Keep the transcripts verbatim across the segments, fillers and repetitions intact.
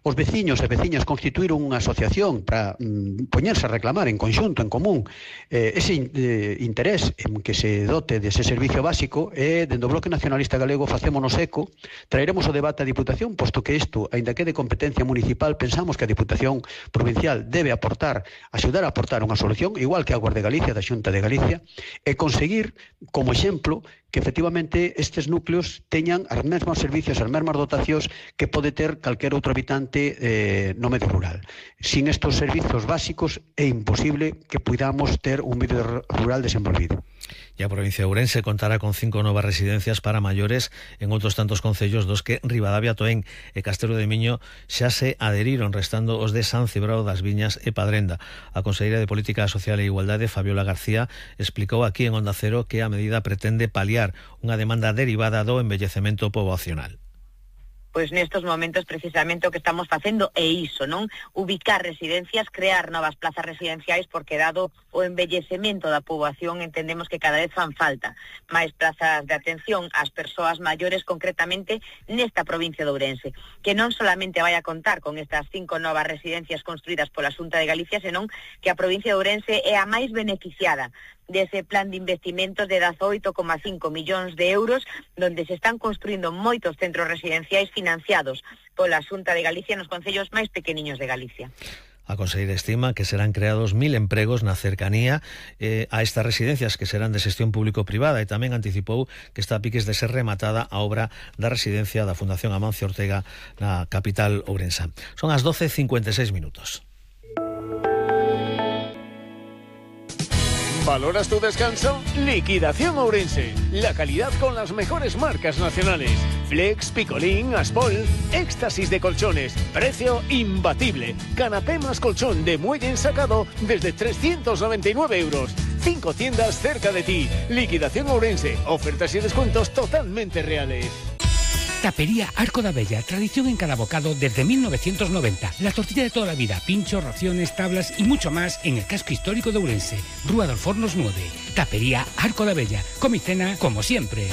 os veciños e veciñas constituíron unha asociación para mm, poñerse a reclamar en conxunto, en común, eh, ese eh, interés en que se dote dese servicio básico, e dende o Bloque Nacionalista Galego facémonos eco, traeremos o debate á Diputación, posto que isto, aínda que de competencia municipal, pensamos que a Diputación Provincial debe aportar, axudar a aportar unha solución, igual que a Guardia de Galicia, da Xunta de Galicia, e conseguir, como exemplo, que efectivamente estes núcleos teñan as mesmas servicios, as mesmas dotacións que pode ter calquer outro habitante eh, no medio rural. Sin estes servizos básicos é imposible que podamos ter un medio rural desenvolvido. E a provincia de Ourense contará con cinco novas residencias para maiores en outros tantos concellos dos que Ribadavia, Toén e Castelo de Miño xa se adheriron, restando os de San Cibrao das Viñas e Padrenda. A conselleira de Política Social e Igualdade, Fabiola García, explicou aquí en Onda Cero que a medida pretende paliar unha demanda derivada do envellecemento poboacional. Pois nestos momentos precisamente o que estamos facendo é iso, non? Ubicar residencias, crear novas plazas residenciais, porque dado o envellecemento da poboación entendemos que cada vez fan falta máis plazas de atención ás persoas maiores, concretamente nesta provincia de Ourense, que non solamente vai a contar con estas cinco novas residencias construídas pola Xunta de Galicia, senón que a provincia de Ourense é a máis beneficiada dese plan de investimentos de dezaoito coma cinco millóns de euros, donde se están construindo moitos centros residenciais financiados pola Xunta de Galicia nos concellos máis pequeniños de Galicia. A conselleira estima que serán creados mil empregos na cercanía eh, a estas residencias, que serán de xestión público-privada, e tamén anticipou que está a piques de ser rematada a obra da residencia da Fundación Amancio Ortega na capital ourensa. Son as doce e cincuenta e seis minutos. ¿Valoras tu descanso? Liquidación Ourense. La calidad con las mejores marcas nacionales. Flex, Picolín, Aspol, éxtasis de colchones. Precio imbatible. Canapé más colchón de muelle ensacado desde trescientos noventa y nueve euros. Cinco tiendas cerca de ti. Liquidación Ourense. Ofertas y descuentos totalmente reales. Tapería Arco da Bella, tradición en cada bocado desde mil novecientos noventa. La tortilla de toda la vida, pinchos, raciones, tablas y mucho más en el casco histórico de Ourense. Rúa dos Fornos nueve. Tapería Arco da Bella. Come y cena como siempre.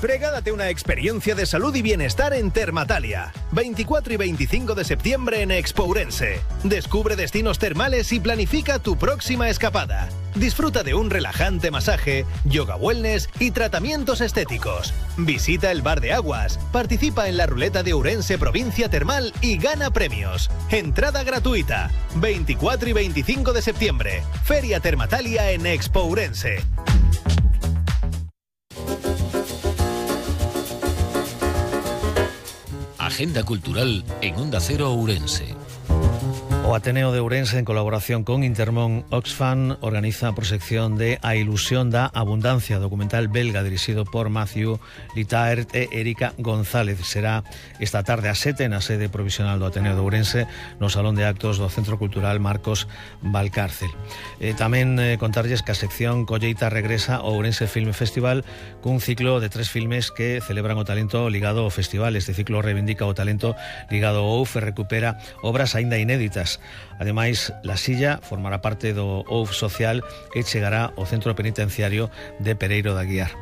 Regálate una experiencia de salud y bienestar en Termatalia. veinticuatro y veinticinco de septiembre en Expo Ourense. Descubre destinos termales y planifica tu próxima escapada. Disfruta de un relajante masaje, yoga wellness y tratamientos estéticos. Visita el Bar de Aguas, participa en la ruleta de Ourense Provincia Termal y gana premios. Entrada gratuita. veinticuatro y veinticinco de septiembre. Feria Termatalia en Expo Ourense. Agenda cultural en Onda Cero Ourense. O Ateneo de Ourense, en colaboración con Intermón Oxfam, organiza a proxección de A ilusión da abundancia, documental belga dirixido por Matthew Litaert e Erika González. Será esta tarde a sete na sede provisional do Ateneo de Ourense, no Salón de Actos do Centro Cultural Marcos Valcárcel. E tamén eh, contarlles que a sección Colleita regresa ao Ourense Film Festival cun ciclo de tres filmes que celebran o talento ligado ao festival. Este ciclo reivindica o talento ligado ao O U F e recupera obras aínda inéditas. Ademais, La Silla formará parte do O U F Social e chegará ao centro penitenciario de Pereiro de Aguiar.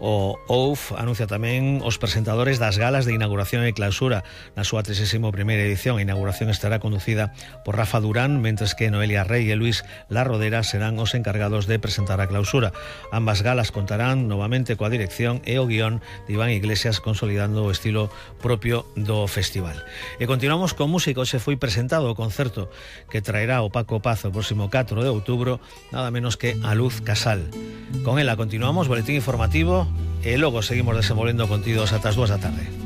O O U F anuncia tamén os presentadores das galas de inauguración e clausura na súa tresésima primeira edición. A inauguración estará conducida por Rafa Durán, mentres que Noelia Rey e Luis Larrodera serán os encargados de presentar a clausura. Ambas galas contarán novamente coa dirección e o guión de Iván Iglesias, consolidando o estilo propio do festival. E continuamos con música. Hoxe foi presentado o concerto que traerá o Paco Paz o próximo catro de outubro, nada menos que A Luz Casal. Con ela continuamos, boletín informativo, e logo seguimos desenvolvendo contidos ata as dúas da tarde.